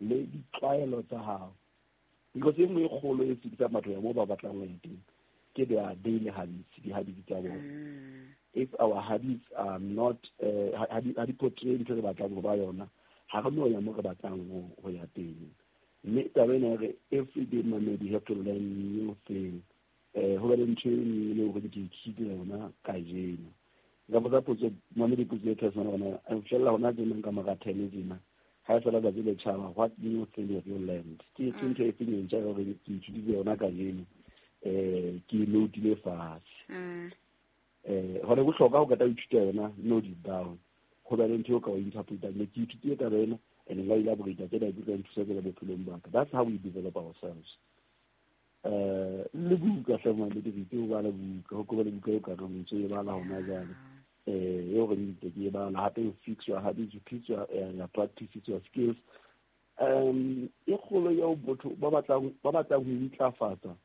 Le ditlwaelo tsa hao, because e nngwe e kgolo e sitisang batho ya moo ba batlang ho ya teng ke their daily habits, di-habits tsa bona. If our habits are not ha di portray ntho e re batlang ho ba yona, ha re no ya mo re batlang ho ya teng. Mme taba ena re every day, mamedi, you have to learn new thing, ho be le ntho e nngwe le hore ke ithutile yona kajeno. Nka botsa potso, mamedi, potso e personal gona fela hona tjena ka mora 10 tjena, ha e fela tsatsi le tjhaba, what new thing have you learned? Ke ntho e feng e ntjha hore ke ithutile yona kajeno, ke e note-ile fatshe? Hore bohlokwa ho qeta ho ithuta yona, note it down, ho be le ntho eo ka o interpretang, ne ke ithutile taba ena and nka elaborate tsena di tla nthusa tsela bophelong ba ka. That's how we develop ourselves. Le buka hle, mamedi, re itse ho bala buka, ho koba le buka eo ka reng ntse e bala hona jwale, eo re ntse ke e bala hape, you fix your habits, you fix your practices, your skills. E kgolo eo botho ba batlang ho intlafatsa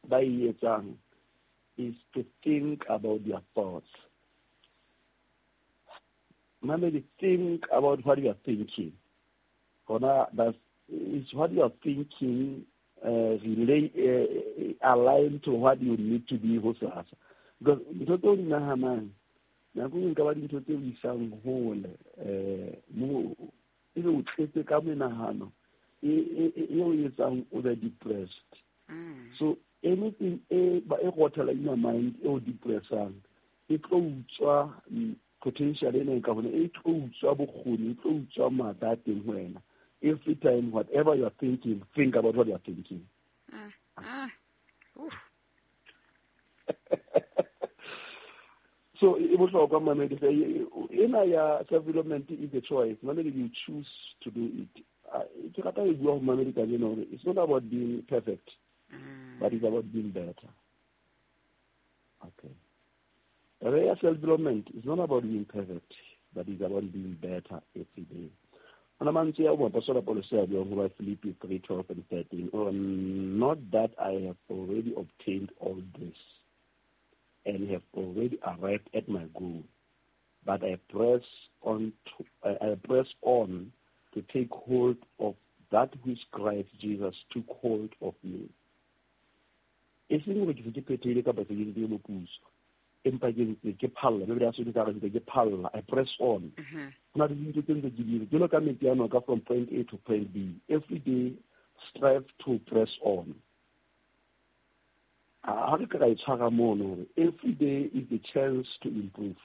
ba e etsang is to think about their thoughts. Mamedi, think about what you are thinking. Hona that's is what you are thinking relate, align to what you need to be hosasa, because ntho tse o di nahanang nako e nka ba dintho tse o isang hole, mo ebe o tletse ka menahano e o etsang o be depressed. So anything e ba e rothela in your mind e o depressang, e tlo utswa potential ena e ka hona, e tlo utswa bokgoni, e tlo utswa matla a teng ho wena. Every time, whatever you are thinking, think about what you are thinking. Oof. So e bohlokwa, mamedi, ena ya self development is a choice, mamedi. You choose to do it. Ke rata e bua ho mamedi kajeno hore it's not about being perfect, but it's about being better. Okay, taba ya self development is not about being perfect, but it's about being better every day. Ona mantswe ya moapostola Paulus a buang ho ba Philippi 3:12 and 13, or "Not that I have already obtained all this and have already arrived at my goal, but I press on to take hold of that which Christ Jesus took hold of me." E seng hore ke se ke phethehile kapa se ke nkile moputso, empa ke ntse ke phalla mme ya sone ka re ntse ke phalla, I press on. Ho na le dintho tse ntse ke di jalo ka metsi a noka, from point A to point B. Every day strive to press on. Ha re ka ra e tshwara mono hore every day is a chance to improve.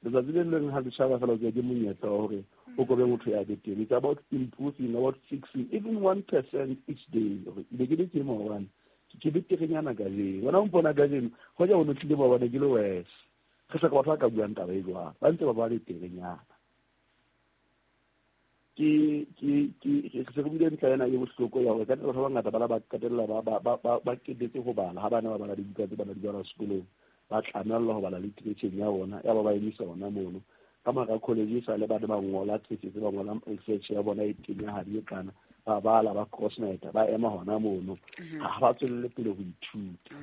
Letsatsi le leng ha le tjhaba fela, o ke monyetla wa hore o kobe motho ya betere. It's about improving, about fixing even 1% each day, hore be ke le ke maobane, ke beterenyana kajeno. Wena o mpona kajeno, hoja o no tlile maobane ke le worse. Re hloka batho ba ka buang taba e jwalo, ba ntse ba ba beterenyana. Ke se re buile ntlha ena e bohloko ya hore ka batho ba bangata ba la ba qetella ba qetetse ho bala. Ha bana ba bala dibuka tse bana di bala sekolong, ba tlamellwa ho bala literature ya bona, ya ba ba emisa ona mono. Ka mora college sa le bana ba ngola thesis, ba ngola research ya bona e kenyahadi e kana, ba bala, ba crossnet, ba ema hona mono, ha ba tswelele pele ho ithuta.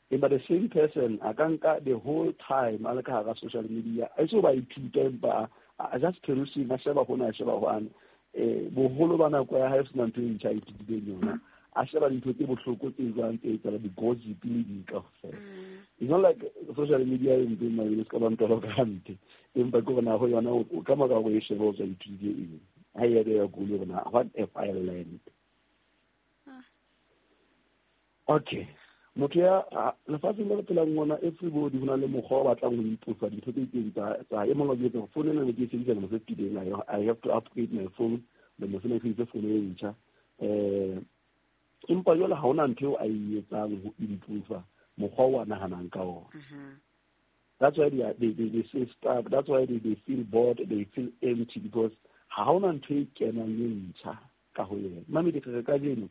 Empa the same person a ka nka the whole time a le ka hara social media, a se ba ithuta, empa a just perusing, a sheba hona, a sheba hwane, boholo ba nako ya hae sena ntho e ntjha a ithutileng yona, a sheba dintho tse bohloko tse jwang tse etsahala, di-gossip le di kaofela. It's not like social media e mpe, mabele se ka ba ntolo ka hampe, empa ke hore na ho yona ka mora hore e shebe, o tswa ithutile eng? Ha e ya ya gole hore na what have I learned? Okay, motho ya lefatsheng le re phelang mona, everybody ho na le mokgwa o batlang ho improve dintho tse itseng tsa e mongwe. Ke gore phone ena ne ke e sebedisa lemo se fetileng, I have to upgrade my phone. Lemo sena ke sebedise phone e ntjha, empa jwale ha hona ntho eo a e etsang ho improve mokgwa o a nahanang ka ona. That's why they say stuck. That's why they feel bored, they feel empty, because ha hona ntho e kenang e ntjha ka ho yena. Mamedi, re kajeno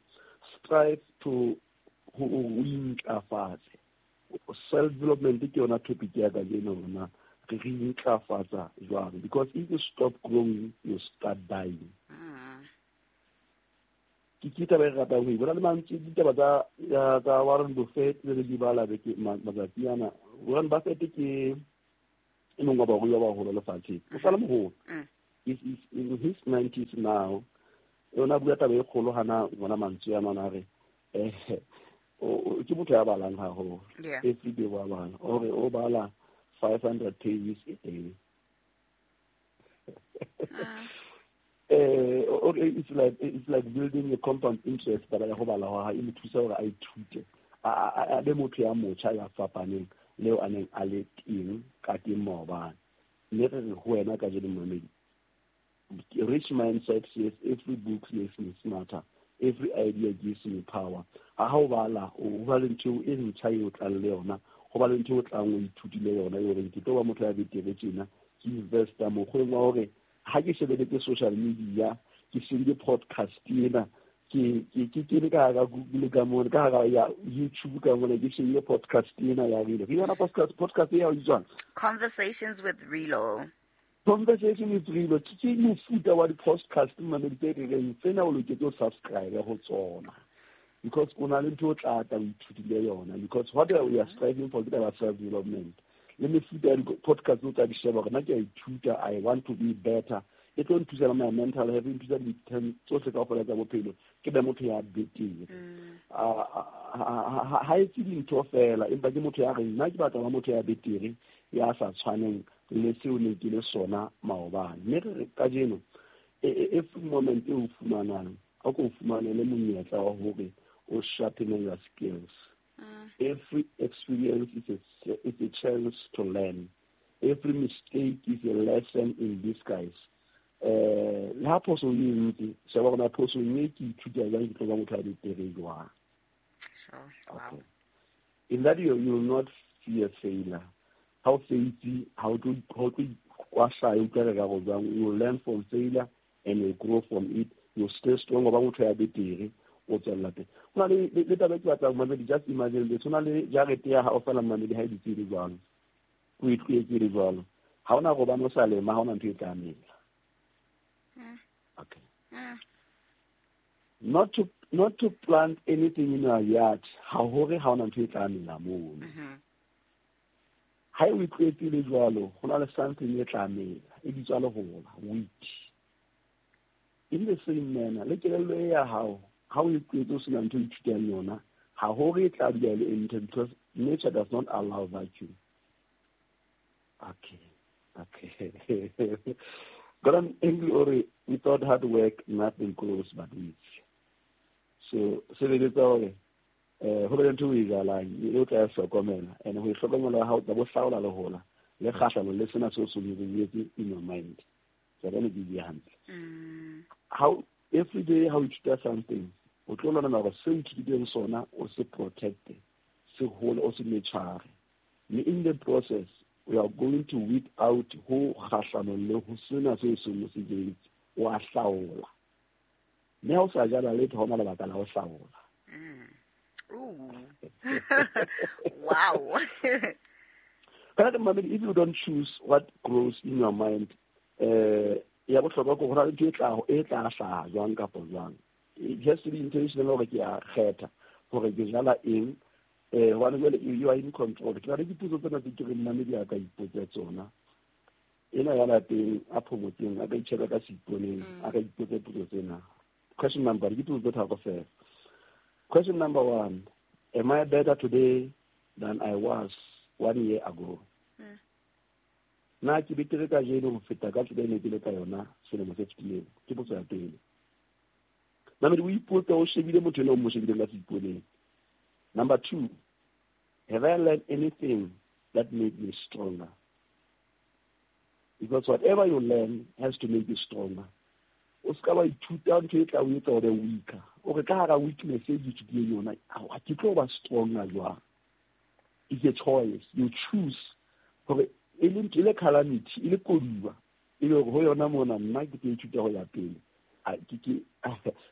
strive to ho o intlafatse. Self development ke yona topic ya kajeno, rona re intlafatsa jwang? Because if you stop growing, you start dying. Ke taba e re ratang ho e bona le mantswe, ditaba tsa Warren Buffett le di bala beke matsatsi ana. Warren Buffett ke e mongwe wa barui ba baholo lefatsheng, o sale moholo. Is in his 90s now. Yona bua taba e kgolo hana ngwana mantswe a nana re ke motho ya balang haholo. Every day wa bala. O re o bala 500 pages a day. It's like building a compound interest taba ya ho bala ha e mo thusa hore a ithute. A be motho ya motjha ya fapaneng leo a neng a le teng ka teng maobane. Mme re re ho wena kajeno momamedi, rich mindset says every book makes me smarter, every idea gives me power. Ha o bala, o ba le ntho e ntjha eo tlang le yona, ho ba le ntho o tlang o ithutile yona e horeng ke tlo ba motho ya betere tjena, ke investa mokgweng wa hore ha ke shebeletse social media, ke shebile podcast ena, ke kene ka hara Google ka mona, ka hara ya YouTube ka mona, ke shebile podcast ena ya Rilo. Ke yona podcast ya jwang? Conversations with Rilo. Conversation with Rilo ke mofuta wa di-podcast mamedi tse re reng tsena o loketse o subscribe ho tsona, because o na le ntho o tla tla o ithutile yona, because what we are striving for ke taba self development. Le mefuta ya di-podcast o tla di sheba hore nna ke a ithuta, I want to be better. E tlo nthusa le my mental health, e nthusa dintho tsohle kaofela tsa bophelo, ke be motho ya betere. Ha etse dintho fela, empa ke motho ya reng nna ke batla ba motho ya betere, ya sa tshwaneng le seo ne ke le sona maobane. Mme re kajeno, every moment e o fumanang, o ko fumanele monyetla wa hore o sharpen your skills. Every experience is a chance to learn. Every mistake is a lesson in disguise. Le ha phoso e ntse, sheba hore na phoso e ke ithuta jwang, ke tlo ba motho a betere jwang. Sure. Wow. Okay. In that you will not fear failure. How faith, how to you will learn from failure and you grow from it. You stay strong. Ba motho ya betere, o tswella pele. Hona le taba e ke batlang mamedi, just imagine this. Hona le jarete ya hao fela mamedi ha e dutse e le jwalo. O e tlohetse e le jwalo. Ha hona hobane o sa lema, ha hona ntho e tla mela. Okay. Not to plant anything in your yard, ha hore ha hona ntho e tla mela mono. Ha o tlohetse le jwalo, hona le something e tla mela, e bitswa lehola, wheat. In the same manner, le kelello e ya hao, ha o tlohetse o sena ntho e ithutang yona, ha hore e tla dula e le empty, because nature does not allow vacuum. Okay. Gordon Engle ore, without hard work, nothing grows but weeds. So, sebeletsa hore ho be le ntho o e jalang, e o tla e hlokomela, and ho e hlokomela ha o tla bo hlaola lehola, le kgahlano le sena seo se o in your mind. So, ke bue hantle. How every day how you ithuta something, o tlo lwana hore seo o ithutileng sona o se protect, se hole, o se nurture. Mme in the process, we are going to weed out ho kgahlano le ho sena seo se mo se jetse, wa hlaola. Mme ha o sa jala letho, ha hona lebaka la ho hlaola. Ooh. Wow. If you don't choose what grows in your mind, ya bohlokwa ke hore ntho e tla hlaha jwang kapa jwang. It has to be intentional hore ke a kgetha hore ke jala eng, hobane jwale you are in control. Ke na le dipotso tsena tse ke reng mamedi a ka ipotsa tsona. Ena ya lapeng a phomotseng, a ka itjheba ka seiponeng, a ka ipotsa potso tsena. Question number, ke potso tse tharo fela. Question number 1, am I better today than I was 1 year ago? Na ke betere kajeno ho feta ka tsela e ne ke le ka yona selemo se fetileng? Ke potso ya pele. Mamedi o ipotsa o shebile motho ena o mo shebileng ka seiponeng. Number 2, have I learned anything that made me stronger? Because whatever you learn has to make you stronger. O ska wa ithuta ntho e tla o etsa hore o weaker. O re ka hara weakness e ke ithutileng yona, a ke tlo ba stronger jwang? It's a choice. You choose. Hore e le calamity, e le koduwa, e le hore ho yona mona nna ke tlo ithuta ho ya pele.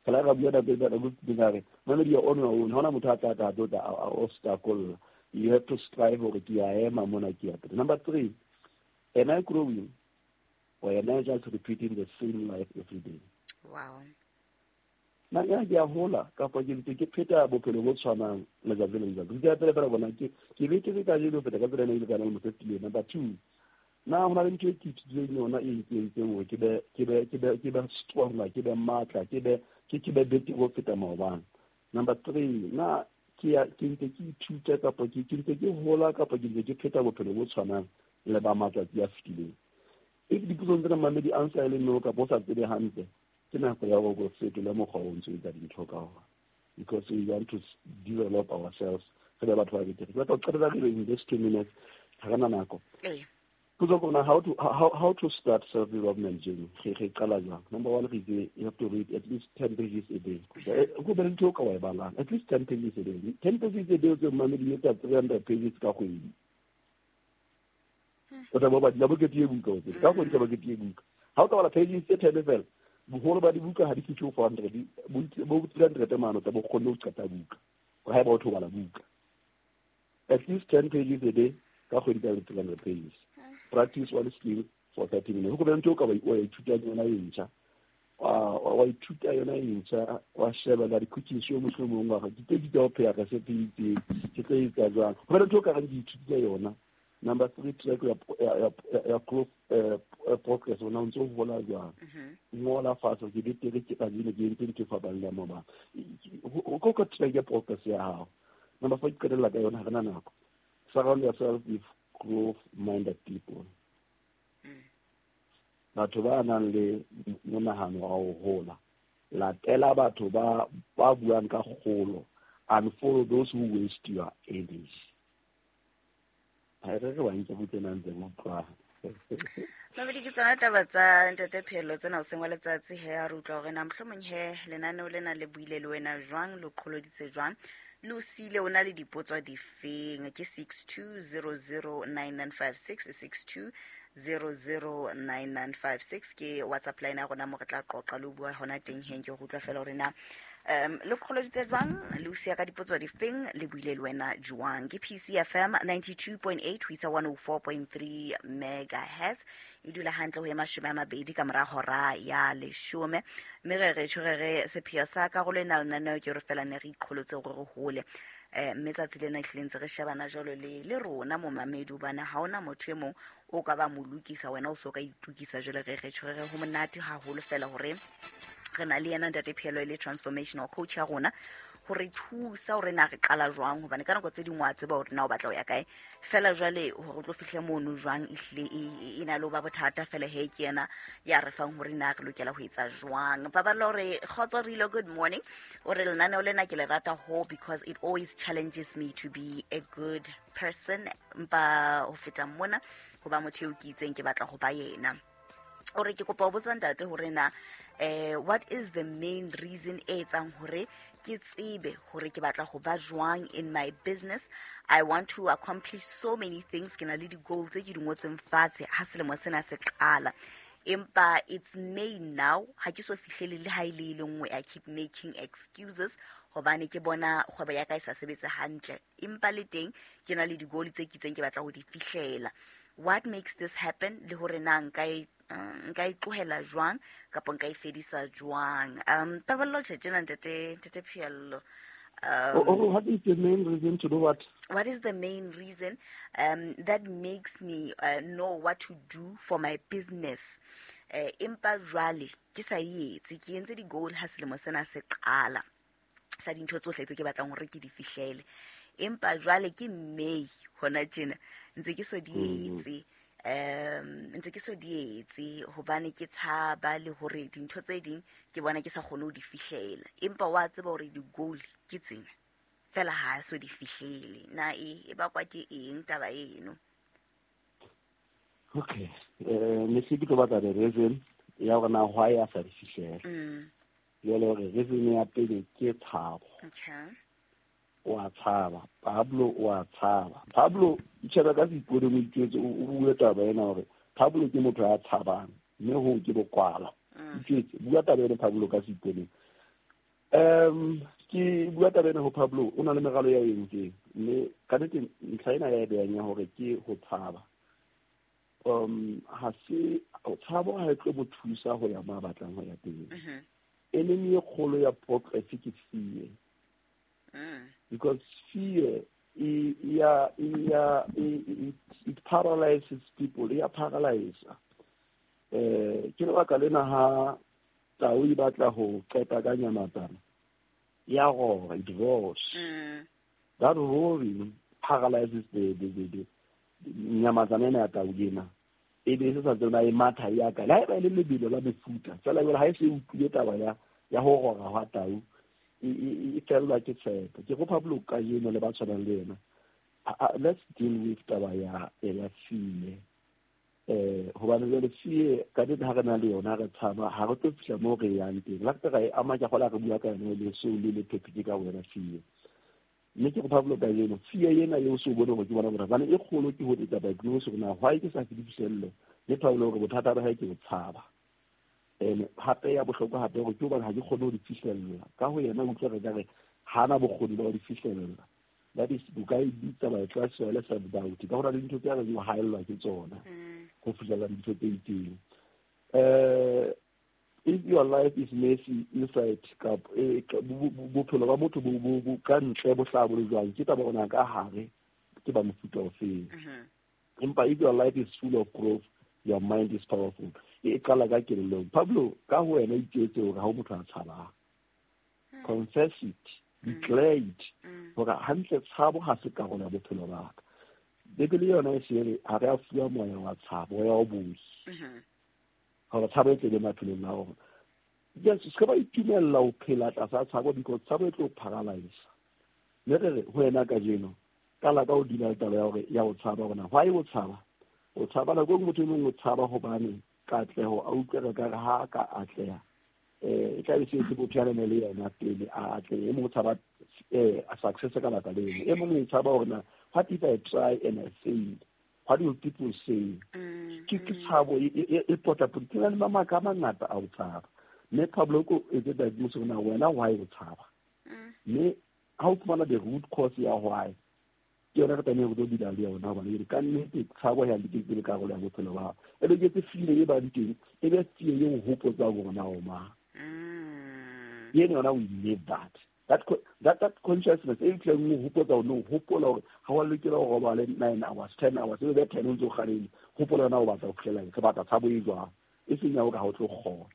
Fela ra bua nako e nako e re, mamedi ya on your own, ha hona motho a tla tla tlo tla o stakolla. You have to strive hore ke a ema mona ke ya pele. Number 3, am I growing or am I just repeating the same life every day? Wow. Na ya ke a hola kapa ke ntse ke pheta bophelo bo tshwanang letsatsi le letsatsi. Ke a pele fela bona ke be ke ka jeno feta ka tsela e ne ke le ka yona mo fetileng. Number 2, Na ho na le ntho e ke ithutileng yona e nkentseng hore ke be stronger, ke be matla, ke be betere ho feta maobane? Number three, na ke ya ke ntse ke ithuta kapa ke ntse ke hola kapa ke ntse ke pheta bophelo bo tshwanang le ba matsatsi a fetileng? If dipotsong tsena mamedi answer e le no kapa o sa tsebe hantle, ke nako ya hore o fetole mokgwa o ntso etsa dintho ka ona, because we want to develop ourselves, re be batho ba betere. Ke batla ho qetela pele in this 2 minutes, ha re na nako. Potso ke hore how to start self development journey, re qala jwang? Number one, re itse you have to read at least 10 pages a day. Go be le ntho o ka wa e balang, at least 10 pages a day. 10 pages a day o tse mamedi etsa 300 pages ka kgwedi. O tla bo badila bokete e buka, o tsebe ka kgwedi ka bokete e buka. Ha o ka bala pages tse 10 fela, boholo ba dibuka ha di fihle ho 400, bo 300 mane, o tla bo kgonne ho qeta buka ha eba o tho bala buka at least 10 pages a day, ka kgwedi ka 300 pages. Practice one skill for 30 minutes. Go be ntho o ka wa ithuta yona e ntjha, wa ithuta yona e ntjha, wa shebella di-cooking show mohlomong, wa ke tse di tsa ho pheha recipe e itseng, ke tlo etsa jwang, ho be le ntho o ka reng ke ithutile yona. Number three, track ya growth, progress, ona o ntse o hola jwang. Ngola fatshe, ke betere ke kajeno, ke entse ntho e fapaneng le ya maobane, o ka track ya progress ya hao. Number four, ke qetella ka yona, ha re na nako. Surround yourself with growth minded people, batho ba nang le monahano wa ho hola. Latela batho ba buang ka kgolo and follow those who waste your energy. Ha re ba nke butsena ntse utlwa. Mabedi ke tsona taba tsa ntate Phelo tsena o seng wa letsatsi. He, a re utlwa hore na mohlomong he lenaneo lena le buile le wena jwang, le qholoditse jwang, le o siile o na le dipotso difeng? Ke 62009956, 62009956 ke WhatsApp line ya rona mo re tla qoqa le ho bua hona teng. Heng ke go utlwa fela hore na le qholoditse jwang, le o siya ka dipotso difeng, le buile le wena jwang. Ke PCFM 92.8 ho isa 104.3 megahertz, e dula hantle ho ye 20 ka mora hora ya 10. Mme re re tjho re re sepheo sa karolo ena lenaneo ke hore fela ne re iqholotse hore re hole, mme tsatsi lena ehlile ntse re shebana jwalo le rona momamedi, hobane ha hona motho e mong o ka ba mo lokisa, wena o so ka itukisa. Jwale re re tjho re re ho monate haholo fela hore re na le yena ntate Phelo e le transformational coach ya rona ho re thusa hore na re qala jwang, hobane ka nako tse ding wa tseba hore na o batla ho ya kae, fela jwale hore o tlo fihle mono jwang ehlile e na le ho ba bothata. Fela he, ke yena ya re fang hore na re lokela ho etsa jwang. Paballo re kgotso Rilo, good morning. O re lenaneo lena ke le rata ho because it always challenges me to be a good person, mpa ho feta mona ho ba motho eo ke itseng ke batla ho ba yena. O re ke kopa ho botsa ntate hore na what is the main reason e etsang hore ke tsebe hore ke batla ho ba jwang in my business? I want to accomplish so many things. Ke na le di-goal tse ke di ngotseng fatshe ha selemo sena se qala, empa it's May now, ha ke so fihlele le ha e le e le nngwe. I keep making excuses hobane ke bona kgwebo ya ka e sa sebetse hantle, empa le teng ke na le di-goal tse ke itseng ke batla ho di fihlela. What makes this happen, le hore na nka e tlohela jwang kapa nka e fedisa jwang? Paballo tjhe tjena ntate Phiello. Oh, what is the main reason to do what? What is the main reason that makes me know what to do for my business, empa jwale ke sa e etse? Ke entse di-goal ha selemo sena se qala sa dintho tsohle tse ke batlang hore ke di fihlele, empa jwale ke May hona tjena, ntse ke so di etse, ntse ke so di etse hobane ke tshaba le hore dintho tse ding ke bona ke sa kgone ho di fihlela, empa wa tseba hore di-goal ke tsena fela, ha so di fihlele. Na e bakwa ke eng taba eno? Okay, ne se ke tlo batla the reason ya hore na why a sa di fihlela. Jwale hore reason ya pele ke tshabo. O a tshaba Pablo, o a tshaba Pablo. Itjhebe ka seipone, mo itjwetse, o bue taba ena hore Pablo ke motho ya tshabang, mme hoo ke bokwala. Itjwetse, bua taba ena Pablo ka seiponeng. Ke bua taba ena ho Pablo, o na le meralo ya entseng, mme ka nnete ntlha ena ya e behang ya hore ke ho tshaba, ha se tshabo, ha e tlo mo thusa ho ya mo a batlang ho ya teng. Enemy e kgolo ya progress ke fear, because fear e it paralyzes people, ya paralyze. Ke lebaka lena ha tau e batla ho qeta ka nyamatsana, ya rora, it roars. That roaring paralyzes the nyamatsana ena ya tau ena. E be se sa tsona e matha ya ka. Le haeba e le lebelo la mefuta, feela jwale ha e se utlwile taba ya ho rora hwa tau, e fellwa ke tshepo. Ke kopa Pablo kajeno le ba tshwanang le yena, let's deal with taba ya fear. Hobane jwale fear ka nnete ha re na le yona re tshaba, ha re tlo fihla moo re yang teng. La re e ama ke kgola re bua ka yona le so le topic ka wena fear. Mme ke kopa Pablo kajeno, fear ena eo so bone hore ke bona bothata, hobane e kgolo ke ho etsa diagnose hore na why ke sa fihle phihlello, mme Pablo hore bothata ba hae ke ho tshaba. And hape ya bohlokwa hape hore ke hobane ha ke kgone ho di fihlella. Ka ho yena utlwa re ka re hana bokgoni ba ho di fihlella. That is, o ka e bitsa ba e classify le self-doubt. Ka hona le dintho tse re di haellwa ke tsona ho fihlella dintho tse itseng. If your life is messy inside, bophelo ba motho bo ka ntle bo hlaha bo le jwang, ke taba hore ka hare ke ba mofuta ofeng. Empa if your life is full of growth, your mind is powerful. E qala ka kelellong. Pablo, ka ho wena itjwetse hore ha o motho a tshabang. Confess it, declare it. Hore hantle tshabo ha se karolo ya bophelo ba ka. Bibele yona e se re ha re a fuwa moya wa tshabo, moya wa bohi. Hore tshabo e tlele maphelong a rona. Yes, se ka ba itumella ho phela tlasa tshabo because tshabo e tlo paralyze. Mme re re ho wena kajeno, qala ka ho dula le taba ya hore ya ho tshaba hore na why o tshaba? O tshaba nako e nngwe motho e mong o tshaba hobane katleho a utlwe re ka re ha ka atleha. E tla be se se botho ya le yena pele a atlehe. E mong o tshaba success ka baka leno. E mong o tshaba hore na what if I try and I fail? What will people say? Ke tshabo e potapoti. Ke na le mabaka a mangata a ho tshaba. Mme Pablo ko etse diagnose hore na wena why o tshaba. Mme ha o fumana the root cause ya why, ke yona re tlameha ho tlo dula le yona hobane e ka nnete tshabo ya le karolo ya bophelo ba hao. E be ke tse fear e bang teng, e be fear e o hopotsang hore na o mang. Eno yona we live that. That consciousness e tleng o hopotsa hore o hopola hore ha wa lokela ho robala 9 hours, 10 hours, e be 10 o ntse o kgalehile. Hopola yona o batla ho fihlela eng, re batla tshabo e jwang, e seng ya hore ha o tlo kgona.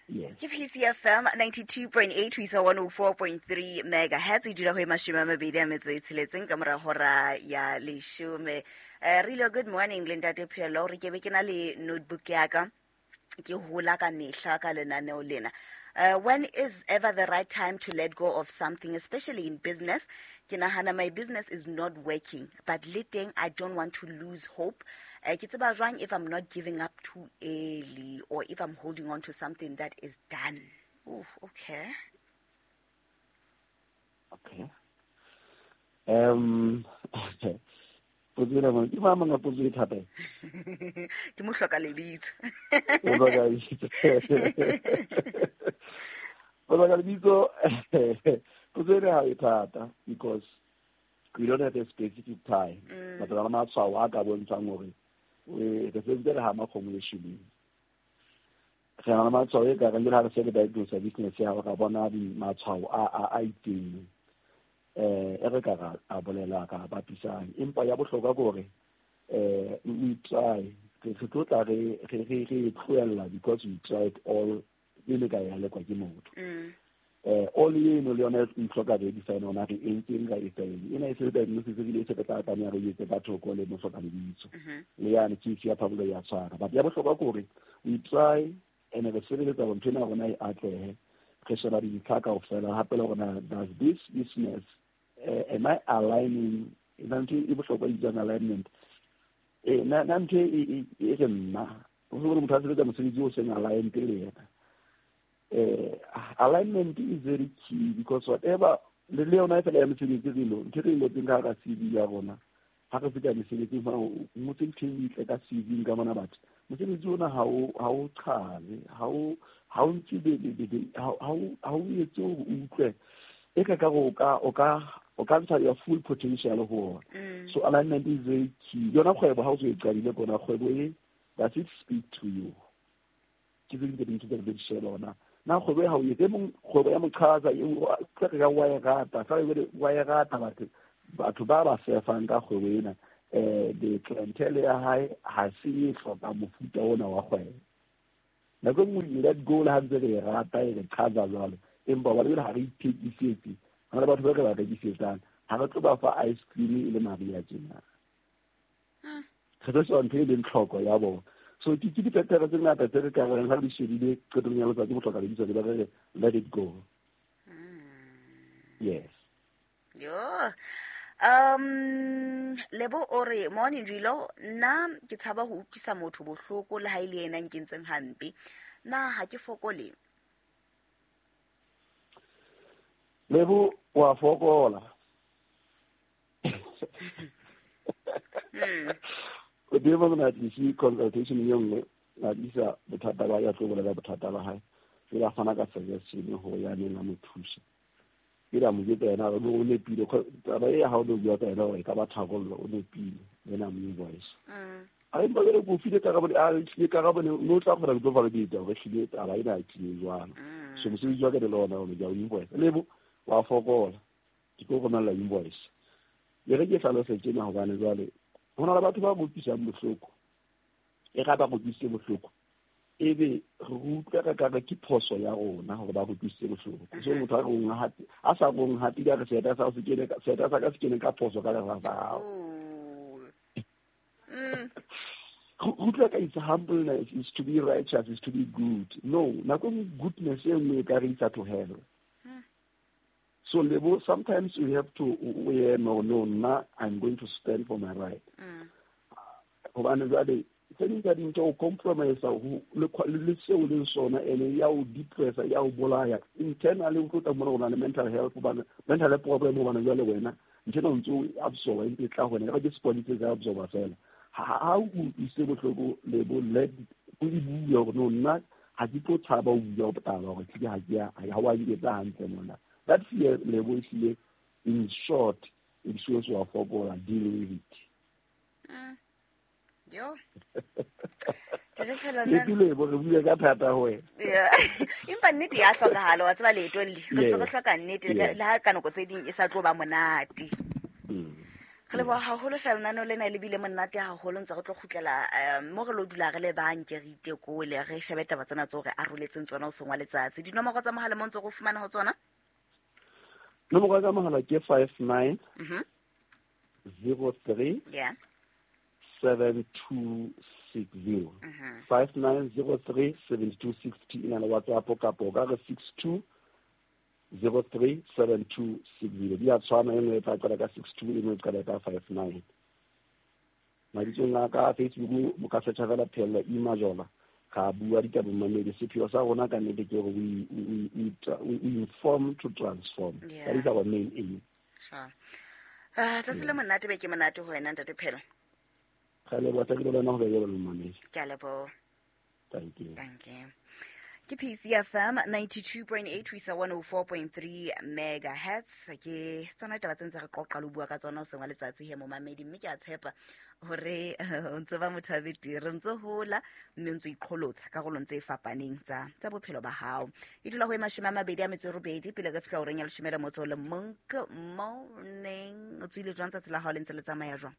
Yes. Ke PCFM 92.8 ho isa 104.3 megahertz, e dula ho e 26 ka mora hora ya 10. Rilo, good morning le ntate Phelo, re ke be ke na le notebook ya ka, ke hola ka mehla ka lenaneo lena. When is ever the right time to let go of something, especially in business? Ke nahana my business is not working, but le teng I don't want to lose hope. Ke tseba jwang if I'm not giving up too early or if I'm holding on to something that is done? Ooh, okay. Okay. Potso ena ke mang a potso e thata? Ke mo hloka lebitso. O hloka lebitso. O hloka lebitso. Potso ena ha e thata because we don't have a specific time. But re na le matshwao a ka bontshang hore re sentse re hama kgomo e shweleng. Re na le matshwao e ka reng jwale ha re se re diagnose business ya hao, ra bona matshwao a itseng. E re ka ra a bolela ka bapisang. Empa ya bohlokwa ke hore we try. Re tlo tla re tlohella because we tried all pele ka ya lekwa ke motho. All eno le yona e hloka re define hona re entseng ka etsa eng. Ena e se diagnosis e bile e se re tla tlameha re etse ka thoko le mohloka lebitso. Le yane ke ya Pablo ya tshwara. But ya bohlokwa ke hore we try and re sebeletsa hore ntho ena ya rona e atlehe. Re sheba dintlha kaofela hape le hore na does this business am I aligning? Na ntho e bohlokwa e bitswang alignment. Na ntho e re nna o se motho a sebetsa mosebetsi o seng aligned le yena. Alignment is very key because whatever le yona e fela ya mesebetsi re lo ntho re ngotseng ka hara CV ya rona, ha re fihla mesebetsing fa o ngotse ntho e ntle ka CV ka mona batho mosebetsi ona ha o qhale, ha o ntse ha o etse hore o utlwe e ka ka o ka ntsha your full potential ho ona. So alignment is very key. Yona kgwebo ha o so e qadile kona kgwebo e, does it speak to you? Ke tse ding tse dintho tse re di sheba hona Na kgwebo ya hao e mong kgwebo ya moqhaza e re ka wa e rata fa e wa e rata batho ba sefang ka kgwebo ena the clientele ya hae ha se e hloka mofuta ona wa kgwebo. Nako e nngwe let go le ha ntse re e rata e re qhaza jwalo, empa ba lebele ha re ithekisetse, ha le batho ba re ba rekisetsang, ha re tlo ba fa ice cream e le mariha tjena. Re tlo sheba ntho e leng tlhoko ya bona. So ke diphetelo tse ngata tse re ka reng ha re di shebile qetong ya letsatsi bohloka lebitso le ba re let it go. Yes. Yo. Lebo o re morning Rilo, nna ke tshaba ho utlwisa motho bohloko le ha ile yena nkentseng hampe. Na ha ke fokole? Lebo wa fokola. O dimo na tlisi consultation e nngwe na tlisa bothata ba ya tlo bolela bothata ba hae. Ke fana ka suggestion ho ya neng a mo thusa. Ke ra mo jwetsa yena o nepile, taba e ha o no bua ka yena hore e ka ba tharollo, o nepile yena mo invoice. A empa jwale ko file karabo, a tlile karabo no tla kgona go tlo validate hore hlile taba ena e tlile jwang. So mosebetsi wa ka le lona o ja o invoice. Lebo wa fokola, ke tlo romella invoice. Le re ke hlalose tjena hobane jwale ho na le batho ba utlwisang bohloko. E ga ba utlwisitse bohloko, ebe re utlwa ka ka ke phoso ya rona hore ba utlwisitse bohloko. So motho a rong a sa rong hape ka re seta sa se kene ka seta sa ka se kene ka phoso ka re sa hao. Utlwa ka it's humbleness, is to be righteous, is to be good. No, nako goodness e nngwe e ka re isa to hell. So Lebo, sometimes you have to no no, I'm going to stand for my right. Hobane jwale tse ding tsa dintho o compromise ho le seo leng sona, ene ya o depressa, ya o bolaya internally. O tlo mona o na le mental health, hobane mental health problem, hobane jwale wena ntho ena o ntso o absorba e tla ho wena, ka ke sponge tsa absorba fela. Ha o utlwise bohloko Lebo, let o e bue hore no nna ha ke tlo tshaba ho bua taba hore tlile ha ke ya ha wa nketsa hantle mona. That fear Lebo ehlile in short it shows wa fokola, deal with it. Yo. Lebo re bua ka thata ho wena. Yeah. Empa nnete ya hlokahala, wa tseba leetong le. Re ntse re hloka nnete le ha ka nako tse ding e sa tlo ba monate. Re leboha haholo fela nano lena le bile monate haholo, ntse re tlo kgutlela mo re lo dula re le banke re itekole re shebe taba tsena tso re aroletseng tsona o sengwa letsatsi. Dinomoro tsa mohala mo ntse go fumana ho tsona? Nomoro tsa mohala ke 59 03 yeah 7260. 5903 7260 ina le WhatsApp kapo ka re 6203 7260. Di a tshwana, e nngwe e tla qala ka 62, e nngwe e qala ka 59. Mabitsong a ka Facebook mo ka searcha fela Phehello E Majola, ga bua ditaba mamedi. Sepheo sa rona ka nnete ke hore we inform to transform. That is our main aim. Sure. Tsatsi le monate be ke monate ho wena ntate Phehello. Ke a leboha. Thank you. Thank you. Ke PCFM 92.8 ho isa 104.3 megahertz. Ke tsona taba tse ntse re qoqa le bua ka tsona o sengwa letsatsi he momamedi, mme ke a tshepa hore o ntso ba motho a betere, ntso hola mme o ntso iqholotsa karolong tse fapaneng tsa bophelo ba hao. E dula ho e 28 pele re fihla horeng ya 11. Good morning. O tswile jwang tsatsi la hao le ntse le tsamaya jwang?